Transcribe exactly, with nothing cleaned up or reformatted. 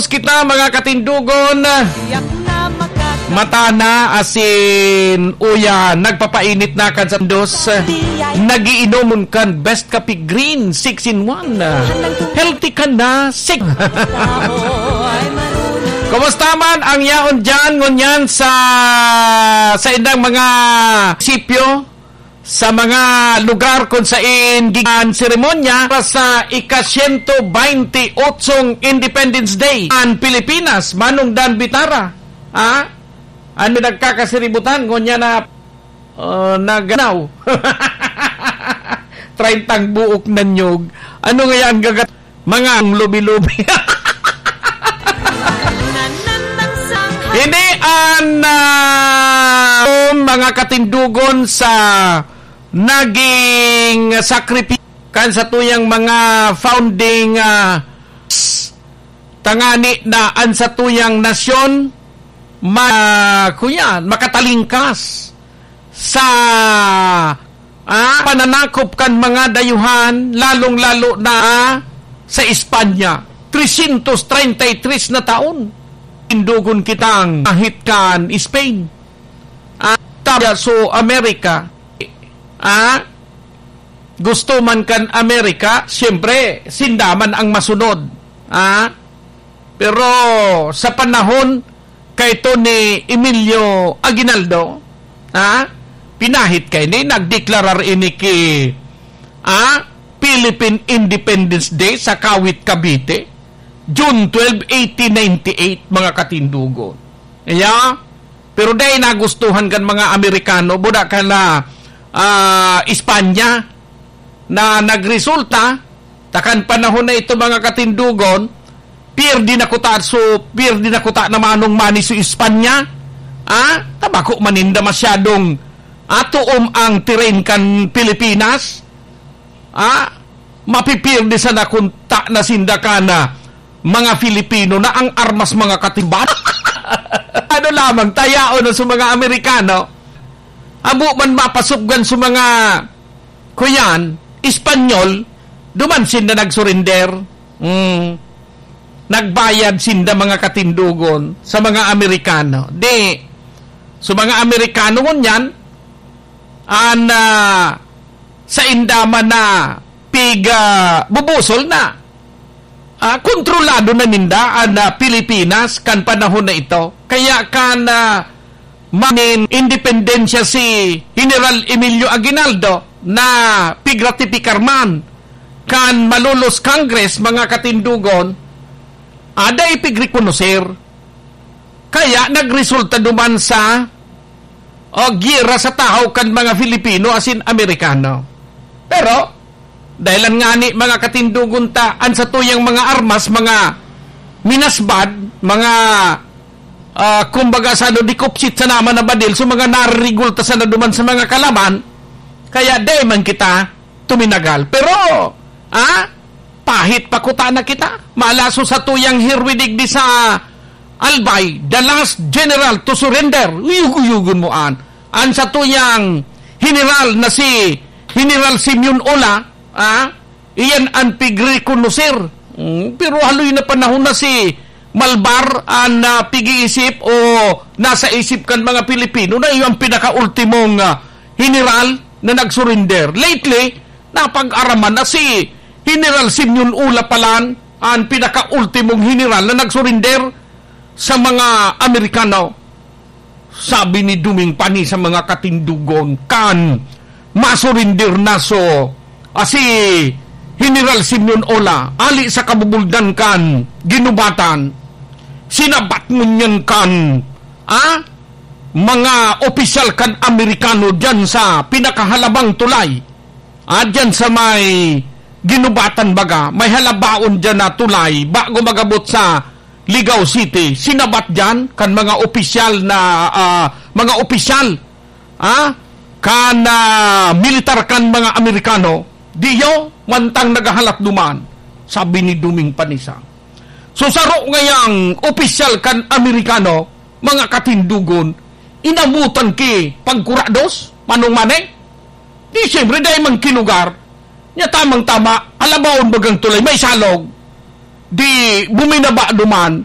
Kita, mga katindugon. Mata na asin uya, nagpapainit na kan sa dos. Nagiinomon kan Best Kape Green, six in one. Healthy ka na, six. Kumusta man ang yaon dyan, ngunyan sa, sa indang mga sipyo? Sa mga lugar kung sain gikan seremonya para sa ika-siyento baynte otsong Independence Day an Pilipinas, Manong Dan Bitara. Ha? Ano nagkakasiributan? Ngunyan na, uh, naganaw. Treyntang buok na niyog. Ano nga yan gagat? Mga lubi-lubi. Ini an, ah, mga katindugon sa naging sakripisyo kan satuyang mga founding, ah, tangani na an satuyang nasyon ma-, kuya, makatalingkas sa, ah, pananakop kan mga dayuhan, lalong-lalo na, ah, sa Espanya. Trescientos treinta y tres na taon. Tindugon kitang ahit kan Spain. Ah, tabya so Amerika. Ah, gusto man kan Amerika, siyempre, sinda man ang masunod. Ah, pero sa panahon kaito ni Emilio Aguinaldo, ha? Pinahit kaini, nagdeklarar ini ki, ha? Philippine Independence Day sa Kawit, Cavite, June twelve, eighteen ninety-eight, mga katindugon. Iya, pero dai nagustuhan kan mga Amerikano, buda kan, ah, Espanya, na nagresulta, ta kan panahon na ito, mga katindugon, pierde na kuta, so, pierde na kuta na manong mani si Espanya. Ah, ta bako man ninda masyadong atoom ang tirain kan Pilipinas. Ah, mapipierde sana kun ta na sinda kan mga Filipino na ang armas, mga katimban. Ano lamang, tayaon na sa mga Amerikano. Amo man mapasubgan sa mga kuyan, Espanyol, duman sinda nag-surrender. Mm. Nagbayad sinda, mga katindugon, sa mga Amerikano. Di, sa mga Amerikano ngunyan, an, ah, sa inda man na pig, ah, bubusol na. Ah, kontrolado na ninda an, ah, Pilipinas kan panahon na ito. Kaya kan, ah, manin independensya si General Emilio Aguinaldo na pigratifkar man kan Malolos Congress, mga katindugon, ada ipigrekonoser. Kaya nagresulta duman sa, o, giyera sa tahaw kan mga Filipino asin Amerikano. Pero, dahilan ngani, mga katindugon ta, an satuyang mga armas, mga minasbad, mga, ah, kumbaga, sa ano, dikupsit sa naman na badil, so mga naririgulta sana duman sa mga kalaban, kaya dai man kita tuminagal. Pero, ah, pahit pa kuta na kita. Malaso sa tuyang hirwi digdi sa Albay, the last general to surrender. Uyog-uyogon mo an. An sa tuyang general na si General Simeon Ola, ah, iyan an pigrekonoser. Mm, pero haloy na panahon na si Malbar an, ah, pig-iisip o nasa isip kan mga Pilipino na iyo ang pinakaultimong, ah, general na nag-surrender. Lately, napag-araman na si General Simeon Ola palan an pinakaultimong general na nag-surrender sa mga Amerikano. Sabi ni Duming Pani sa mga katindugon, kan masurinder na so, ah, si General Simeon Ola, ali sa kabubuldan kan ginubatan, sinabat ngunyan kan, ah, mga opisyal kan Amerikano diyan sa pinakahalabang tulay. Ah, diyan sa may ginubatan baga, may halabaon diyan na tulay, bago magabot sa Ligao City, sinabat diyan kan mga opisyal na, ah, mga opisyal, ah, kan, ah, militar kan mga Amerikano, "Diyo, mantang naghahalat duman," sabi ni Duming Panisa. So, saro ngayang opisyal kan Amerikano, mga katindugon, inabutan ki pagkurados, manong mane? Di, siyempre, dai man ki lugar. Nya tamang-tama, halabaon bagang tulay, may salog. Di buminaba duman,